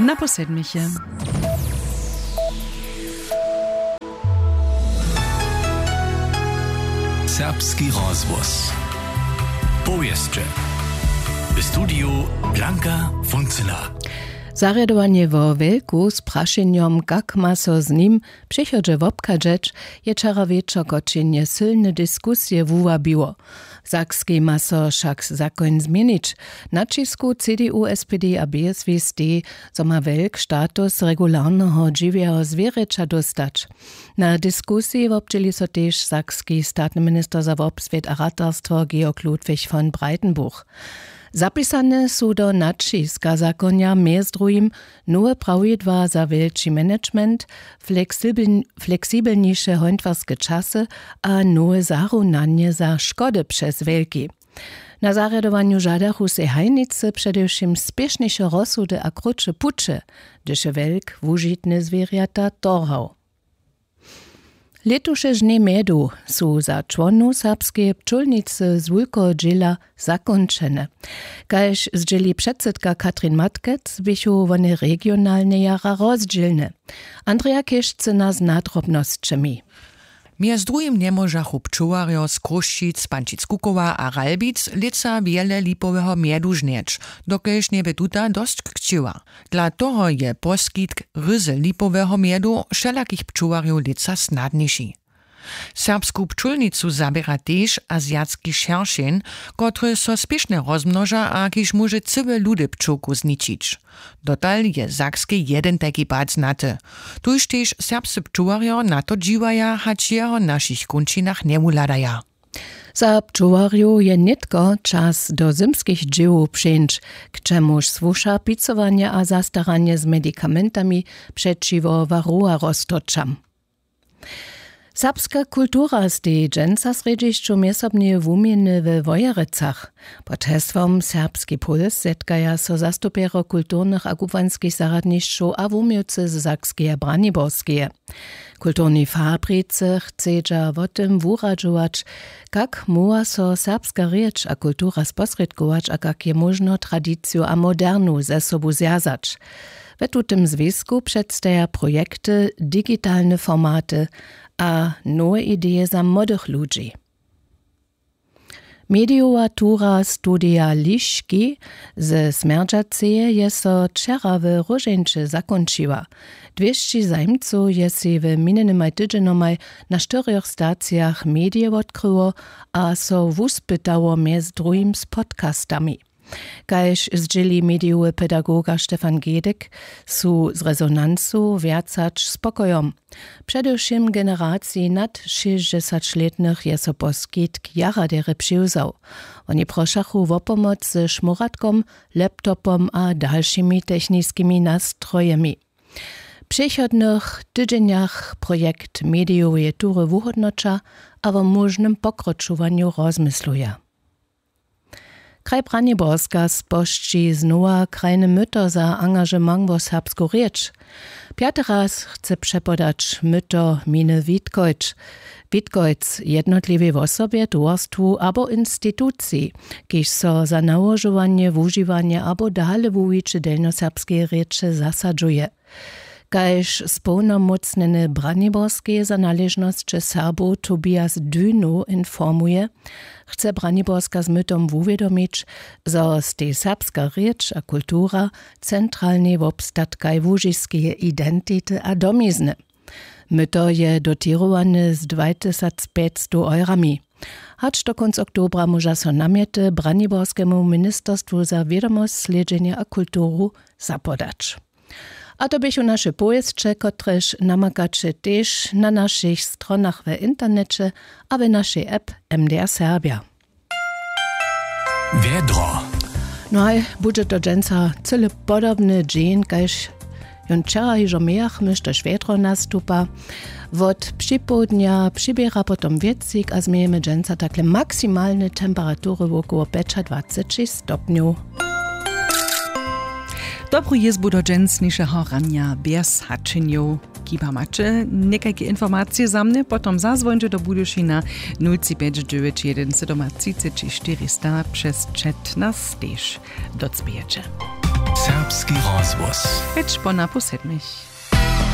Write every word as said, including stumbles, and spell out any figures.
Na posedmiche. Serbski rozhłos. Powěsće. W studiju Blanka Funcyna. Zarjadowanje wo wjelku z prašenjom, kak ma so z nim w přichodźe wobchadźeć, je wčera wječor kotřenje sylne diskusije wuwabiło. W Sakskej ma so wšak zakoń změnić. Na ćisku C D U, S P D a B S W stej, zo ma wjelk status regularneho dźiwjeho zwěrjeća dóstać. Na diskusiji wobdźěli so tež sakski statny minister za wobswět a ratarstwo Georg Ludwig von Breitenbuch. Zapisane su do naćiska zakonja mjez druhim nowe prawidła za wjelči management, fleksibel-, fleksibelniše hońtwarske časy a nowe zarunanje za škody přez wjelki. Na zarjadowanju žadachu sej hajnicy předewšěm spěšniše rozsudy a krótše puće, hdyž je wjelk wužitne zwěrjata torhał. Lětuše ždnje mjedu su za čłonow serbskeje pčólnicy z wulkeho dźěla zakónčene. Kaž zdźěli předsydka Katrin Matkec, běchu wone regionalnje jara rozdźělne. Andrea Chěžcyna z nadrobnosćemi. Mjez druhim njemóžachu pčołarjo z Chrósćic, Pančic Kukowa a Ralbic lětsa wjele lipoweho mjedu žnjeć, dokelž njebě tuta dosć kćěła. Dla toho je poskitk ryzy lipoweho mjedu wšelakich pčołarjow lětsa snadniši. Serbsku pčólnicu zaběra tež azijatski šeršeń, kotryž so spěšnje rozmnoža a kiž móže cyłe ludy pčołkow zničić. Dotal je w Sakskej jedyn tajki pad znaty. Tuž tež serbscy pčołarjo na to dźiwaja, hač jeho w našich kónčinach njewuhladaja. Za pčołarjow je nětko čas do zymskich dźěłow přeńć, k čemuž słuša picowanje a zastaranje z medikamentami přećiwo waruwarostorčam. Serbska kultura steji dźensa w srjedźišću mjezsobneje wuměny we Wojerecach. Pod hesłom Serbski puls zetkaja so zastupjerjo kulturnych a kubłanskich zarjadnišćow a wuměłcy z Sakskeje a Braniborskeje. W kulturnej fabrice chcedźa wo tym wuradźować, kak móhła so serbska rěč a kultura sposrědkować a kak je móžno tradiciju a modernu ze sobu zwjazać. We tutym zwisku předstaja projekty, digitalne formaty a nowe ideje za młodych ludźi. Medijowa tura Studija Liški ze Smjerdźaceje je so wčera w Róžeńće zakónčiła. Dwěsći zajimcow je sej w minjenymaj tydźenjomaj na štyrjoch stacijach medije wotkryło a so wuspytało mjez druhim z podcastami. Kaž zdźěli medijowy pedagoga Stefan Gedyk, su z rezonancu wjac hač spokojom. Předewšěm w generaciji nad šěsćdźesaćlětnych je so poskitk jara derje přiwzał. Woni prošachu wo pomoc ze šmóratkom, laptopom a dalšimi techniskimi nastrojemi. W přichodnych tydźenjach projekt medijoweje tury wuhódnoća a wo móžnym pokročowanju rozmysluja. Kraj Braniborska spožči znowa krajne myto za angažement wo serbsku rěč. Pjaty raz chce přepodać myto miny Witkojc. Witkojc jednotliwej wosobje, towarstwu abo instituciji, kiž so za nałožowanje, wužiwanje abo dale wuwiće delnjoserbskeje rěče zasadźuje. Kaž społnomócnjeny Braniborskeje za naležnosće Serbow Tobias Dünow informuje, chce Braniborska z mytom wuwědomić, zo stej serbska rěč a kultura centralnej wobstatkaj łužiskeje identity a domizny. Myto je dotěrowane z dwatysacpjećstow eurami. Hač do kónc oktobra móža so namjety Braniborskemu ministerstwu za wědomosć, slědźenje a kulturu zapodać. A to běchu naše powěsće, kotrež namakaće tež na našich stronach w interneće a w našej app M D R Serbja. Wjedro. No haj, budźe to dźensa cyle podobny dźeń kaž jón wčera hižo mějachmy, štož wjedro nastupa. Wot připołdnja přiběra potom wětřik a změjemy dźensa takle maksimalne temperatury wokoło pjećadwaceći stopnjow. Dobru jězbu do dźensnišeho ranja bjez hačenjow. Kiba maće někajke informacije za mnje, potom zazwońće do Budyšina, nul tři pjeć dźewjeć jedyn sydomatřiceći štyristo přez čet na stež. Docpějeće. Serbski rozhłos. Pjeć po napoł sedmich.